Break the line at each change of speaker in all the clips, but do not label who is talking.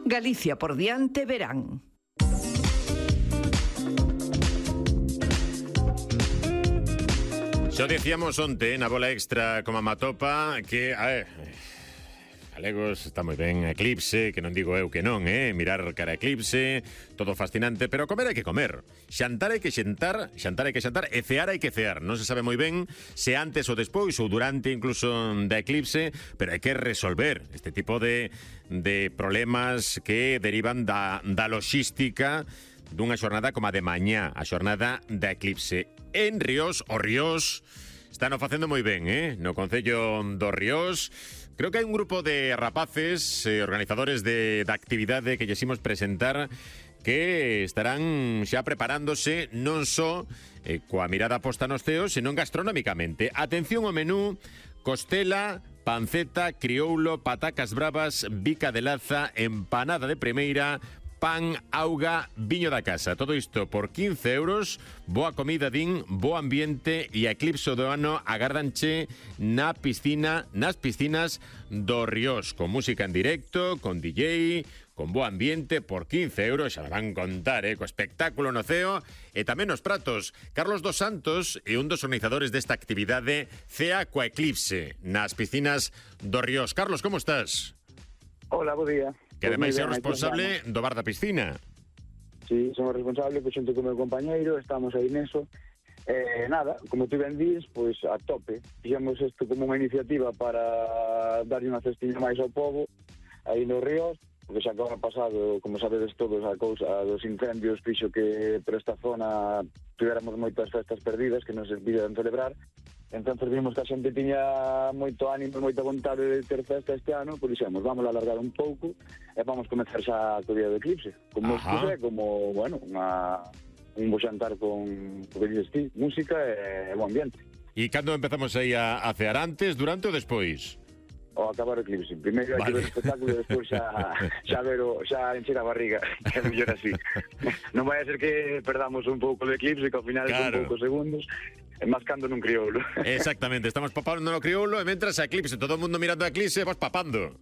Galicia por diante verán.
Xo dicíamos onte na bola extra como a Matopa que, galegos, está moi ben Eclipse, que non digo eu que non, mirar cara a Eclipse, todo fascinante, pero comer hai que comer, xantar hai que xantar e cear hai que cear. Non se sabe moi ben se antes ou despois ou durante incluso da Eclipse, pero hai que resolver este tipo de problemas que derivan da loxística dunha xornada como a de mañá, a xornada da Eclipse. En Ríos, o Ríos están o facendo moi ben, no Concello do Ríos. Creo que hai un grupo de rapaces, organizadores da actividade que lles imos presentar, que estarán xa preparándose non só coa mirada posta nos ceos, senón gastronómicamente. Atención ao menú: costela, panceta, crioulo, patacas bravas, bica de laza, empanada de primeira, pan, auga, viño da casa. Todo isto por 15 euros. Boa comida, din, bo ambiente e a Eclipse do ano agardanche nas piscinas do Ríos, con música en directo, con DJ, con bo ambiente, por 15 euros. Xa me van contar, co espectáculo no ceo e tamén os pratos. Carlos dos Santos é un dos organizadores desta actividade Cea coa Eclipse nas piscinas do Ríos. Carlos, como estás?
Hola, bo día.
Que ademais é o responsable do bar da piscina.
Sí, somos responsables, pois xunto con o meu compañeiro, estamos aí neso. Nada, como tú ben dis, pois a tope. Fixemos isto como unha iniciativa para darlle unha cestiña máis ao pobo, aí no Ríos, porque xa que ano pasado, como sabedes todos, a cousa dos incendios fixo que por esta zona tivéramos moitas festas perdidas que non se viran celebrar. Entón vimos que a xente tiña moito ánimo, moita vontade de ter festa este ano, por dixemos, vamos a alargar un pouco e vamos comenzar xa co día do Eclipse. Como expuse, como, bueno, un bo xantar con, que dices ti, música e bo ambiente.
E cando empezamos aí a cear, antes, durante ou despois?
O acabar o Eclipse. Primeiro hai que ver o espectáculo e despois xa encher a barriga, que é mellor así. Non vai a ser que perdamos un pouco do Eclipse, que ao final son poucos segundos, mascando nun crioulo.
Exactamente, estamos papando no crioulo e mentras a Eclipse, todo o mundo mirando a Eclipse, vas papando.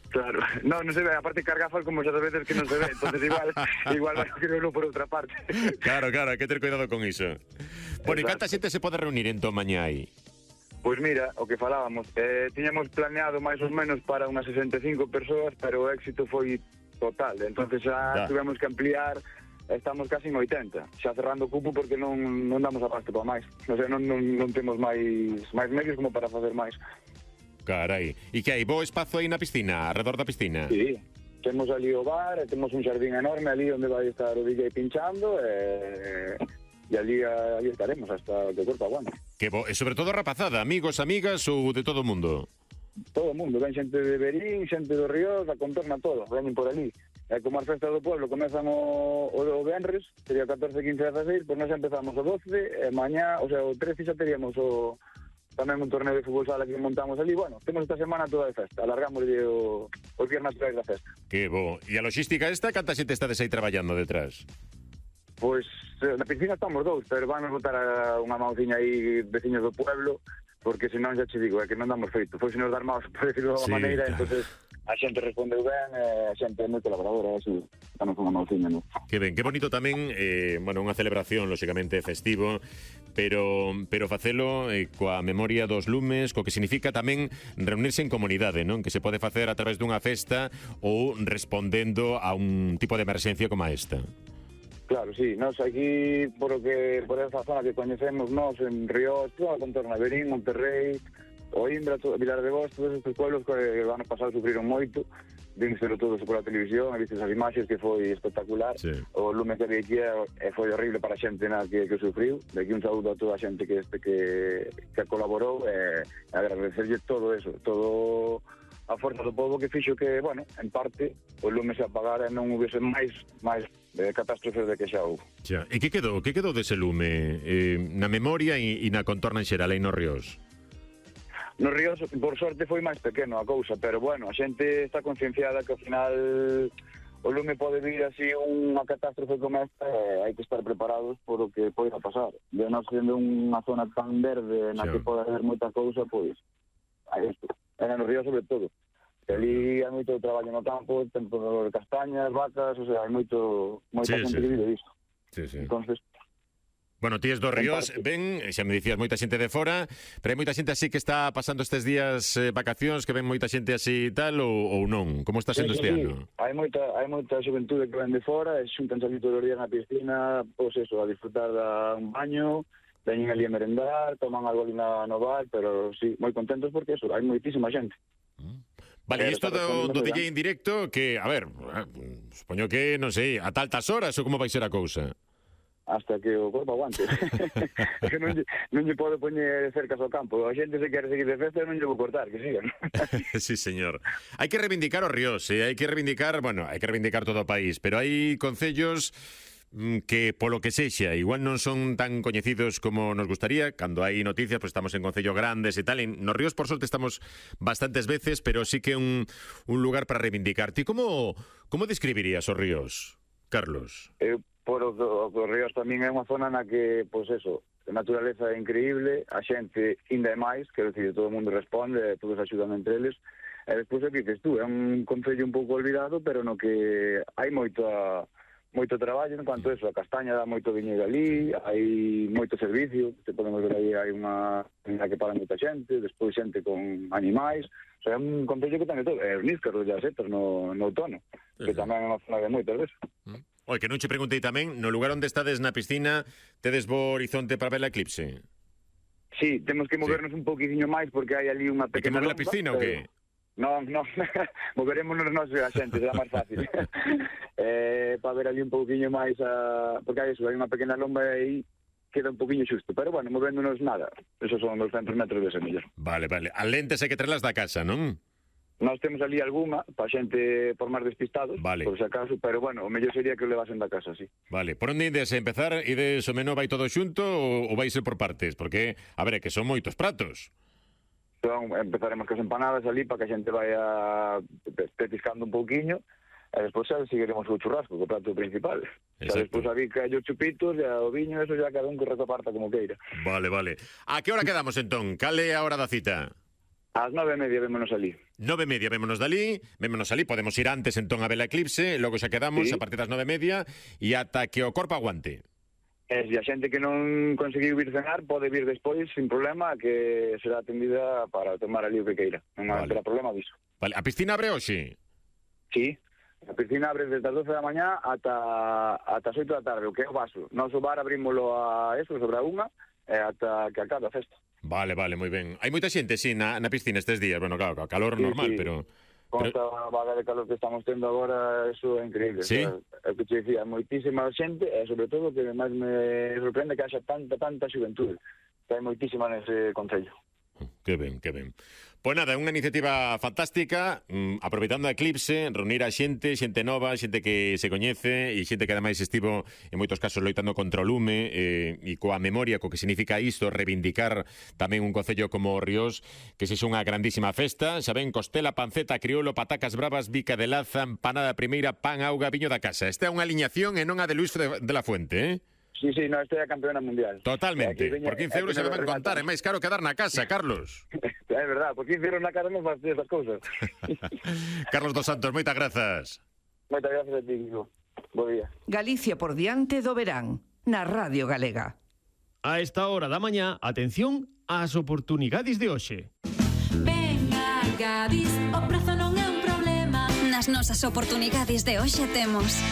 Claro, non se ve, aparte carga gafas como xa veces que non se ve, entonces igual vai o crioulo por outra parte.
Claro, hai que ter cuidado con iso. Bueno, e canta xente se pode reunir entón mañá aí?
Pois mira, o que falábamos, tiñamos planeado máis ou menos para unas 65 persoas, pero o éxito foi total, entonces xa tivemos que ampliar. Estamos casi en 80, xa cerrando o cupo porque non damos abasto para máis. O sea, non temos máis medios como para facer máis.
Carai, e que hai bo espazo aí na piscina, arredor da piscina?
Sí, temos ali o bar, temos un xardín enorme ali onde vai estar o DJ pinchando e ali estaremos hasta que o corpo aguante.
Que bo, e sobre todo rapazada, amigos, amigas ou de todo o mundo?
Todo o mundo, ven xente de Berín, xente do Ríos, da contorna todo, veñen por ali. E como as festas do pueblo comezan o venres, sería 14, 15, 16, pois nós empezamos o 12, e mañá, o sea, o 13 xa teríamos tamén un torneo de fútbol sala que montamos ali. Bueno, temos esta semana toda de festa, alargamos os días naturais da festa.
Que bo, e a logística esta, canta xente estades aí traballando detrás?
Pois, na piscina estamos dous, pero van a botar unha mauciña aí veciños do pueblo, porque senón xa che digo, é que non damos feito. Foi se nos dar maus, por decirlo de maneira, entonces a xente respondeu ben, a xente é moi colaboradora, así, danos unha mauciña, non?
Que ben, que bonito tamén, unha celebración, lóxicamente, festivo, pero facelo coa memoria dos lumes, co que significa tamén reunirse en comunidade, non? Que se pode facer a través dunha festa ou respondendo a un tipo de emerxencia como esta.
Claro, sí, nós aquí, por esa zona que coñecemos nós, en Ríos, toda a contorna, Berín, Monterrey, Oimbra, Vilar de Vos, todos estes pueblos que o ano pasado sufriron moito, vínselo todos por a televisión, vistes as imaxes que foi espectacular, sí. O lume que había aquí foi horrible para a xente que sufriu, de aquí un saúdo a toda a xente que colaborou, e agradecerlle todo eso, todo a forza do povo que fixo que, bueno, en parte, o lume se apagara e non houvese máis catástrofes de que xa houve.
E que quedou dese lume na memoria e na contorna en xeral aí nos Ríos?
Nos Ríos, por sorte, foi máis pequeno a cousa, pero, bueno, a xente está concienciada que ao final o lume pode vir así unha catástrofe como esta, hai que estar preparados por o que poida pasar. De nós sendo unha zona tan verde na que pode haber moita cousa, pois, a isto. E nos Ríos sobre todo. Ali hai moito traballo no campo, tempo de castañas, vacas, o sea, hai moita xente que vive disto.
Sí, sí.
Entonces,
bueno, ti es dos Ríos, ven, xa me dicías moita xente de fora, pero hai moita xente así que está pasando estes días vacacións, que ven moita xente así e tal, ou non? Como está sendo este ano?
Hai moita xuventude que ven de fora, e xuntanse ali todos os días na piscina, pois eso, a disfrutar un baño, veñen ali a merendar, toman algo ali no bar, pero sí, moi contentos porque eso, hai moitísima xente.
Vale, e isto do DJ en directo, que, a ver, supoño que, non sei, a altas horas ou como vai ser a cousa?
Hasta que o corpo aguante. Que non lle pode poñer cercas ao campo. A xente se quere seguir de festa non lle vou cortar, que sigan.
Sí, señor. Hai que reivindicar o Ríos, hai que reivindicar, bueno, hai que reivindicar todo o país, pero hai concellos que polo que sexa, igual non son tan coñecidos como nos gustaría. Cando hai noticias, pues estamos en concellos grandes e tal. Nos Ríos, por sorte, estamos bastantes veces, pero sí que un lugar para reivindicar. Ti como describirías os Ríos, Carlos?
Por os Ríos tamén é unha zona na que, pois eso, a naturaleza é increíble, a xente ainda é máis, quero dicir, todo o mundo responde, todos axudan entre eles, e despois é que dices tú, é un concello un pouco olvidado, pero no que hai moito traballo en cuanto a eso, a castaña dá moito viñedo ali, hai moito servicio, se podemos ver aí, hai unha que para moita xente, despois xente con animais, o sea, é un concello que ten todo, é os níscaros e as setas no outono, que tamén é unha zona de moitas veces.
Oi, que non che preguntei tamén, no lugar onde estades na piscina, tedes bo horizonte para ver a eclipse?
Sí, temos que movernos un poquinho máis porque hai ali unha
pequena... Hai que mover a piscina ou que?
Non, moverémonos nós a xente, será máis fácil. Para ver ali un poquinho máis, porque hai eso, hai unha pequena lomba aí, queda un poquinho xusto, pero bueno, movéndonos nada, esos son 200 metros de semillas.
Vale, as lentes hai que traerlas da casa, non?
Nós temos ali algunha para xente por máis despistados,
vale,
por si acaso, pero bueno, o mellor sería que o levasen da casa, sí.
Vale, por onde ides a empezar? Ides o menú vai todo xunto ou vai ser por partes? Porque, a ver, é que son moitos pratos.
Entón, empezaremos con as empanadas ali para que a xente vaya petiscando un pouquiño, e despois xa seguiremos o churrasco, o prato principal. Xa despois a bica e os chupitos, e o viño, eso ya cada un que reparta como queira.
Vale. A que hora quedamos entón? Cal é a hora da cita?
Ás 9:30 vémonos ali.
9:30 vémonos ali, podemos ir antes entón a ver a eclipse, logo xa quedamos a partir das 9:30 e ata que o corpo aguante.
E se a xente que non conseguiu vir cenar pode vir despois sin problema, que será atendida para tomar ali o que queira. Non terá problema disso.
Vale, a piscina abre hoxe?
Sí, a piscina abre desde as 12 da mañá ata as 8 da tarde, o que é o vaso. Noso bar abrímolo a eso, sobre a unha, e ata que acabe a festa.
Vale, moi ben. Hai moita xente, sí, na piscina estes días. Bueno, claro, calor normal,
sí.
Pero...
Con esta vaga de calor que estamos tendo agora, eso é increíble.
Sí?
O sea, é que te dicía, moitísima xente, e sobre todo que máis me sorprende que haxa tanta xuventude. Que hai moitísima nese concello.
Que ben. Pois nada, é unha iniciativa fantástica, aproveitando a eclipse, reunir a xente nova, xente que se coñece e xente que ademais estivo en moitos casos loitando contra o lume e coa memoria, co que significa isto, reivindicar tamén un concello como Ríos, que sexa unha grandísima festa. Xa ven, costela, panceta, crioulo, patacas bravas, bica de laza, empanada primeira, pan, auga, viño da casa. Esta é unha aliñación e non a de Luis de la Fuente,
Sí, no, esta é a campeona mundial.
Totalmente. Por 15 euros se lo van contar, é máis caro que dar na casa, Carlos.
É verdad, por 15 euros na casa non faz esas cousas.
Carlos dos Santos, moitas grazas.
Moitas grazas a ti, Kiko. Bo día.
Galicia por diante do verán, na Radio Galega.
A esta hora da mañá, atención ás oportunidades de hoxe.
Venga, Gadis, o prazo non é un problema. Nas nosas oportunidades de hoxe temos...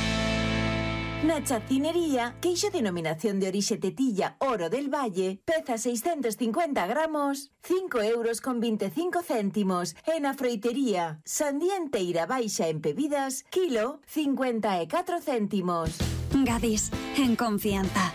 Na chacinería, queixo denominación de orixe Tetilla Oro del Valle, peza 650 gramos, 5 euros con 25 céntimos. E na froitería, sandía enteira baixa en bebidas, kilo, 54 céntimos.
Gadis, en confianza.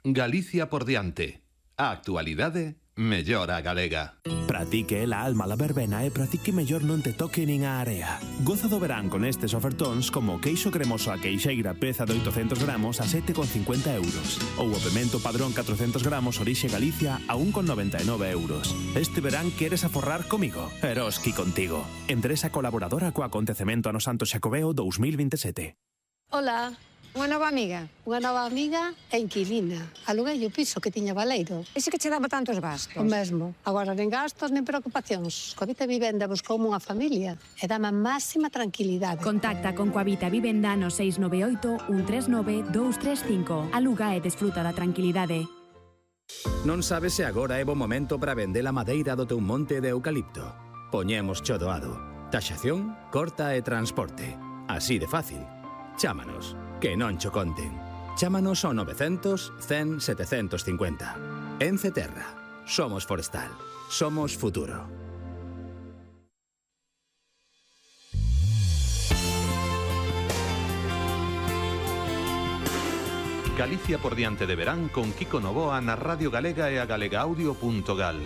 Galicia por diante. A actualidade mellora a galega.
Pratique la alma la verbena e pratique mellor non te toque nin a area. Goza do verán con estes ofertóns como queixo cremoso a queixeira peza de 800 gramos a 7,50 euros ou o pemento padrón 400 gramos orixe Galicia a 1,99 euros. Este verán queres aforrar comigo? Eroski contigo. Empresa colaboradora co acontecemento ano Santo Xacobeo 2027.
Hola, Unha nova amiga e inquilina. Aluguei o piso que tiña baleiro.
Ese que che daba tantos gastos?
O mesmo. Agora nen gastos nen preocupacións. Coavita Vivenda buscoume unha familia e dame a máxima tranquilidade.
Contacta con Coavita Vivenda no 698 139 235. Aluga e desfruta da tranquilidade.
Non sabes se agora é bo momento para vender a madeira do teu monte de eucalipto. Poñemos cho doado. Taxación, corta e transporte. Así de fácil. Chámanos, que non cho conten. Chámanos ao 900 100 750. Ence Terra. Somos forestal. Somos futuro.
Galicia por diante de verán con Kiko Novoa na Radio Galega e a galegaaudio.gal.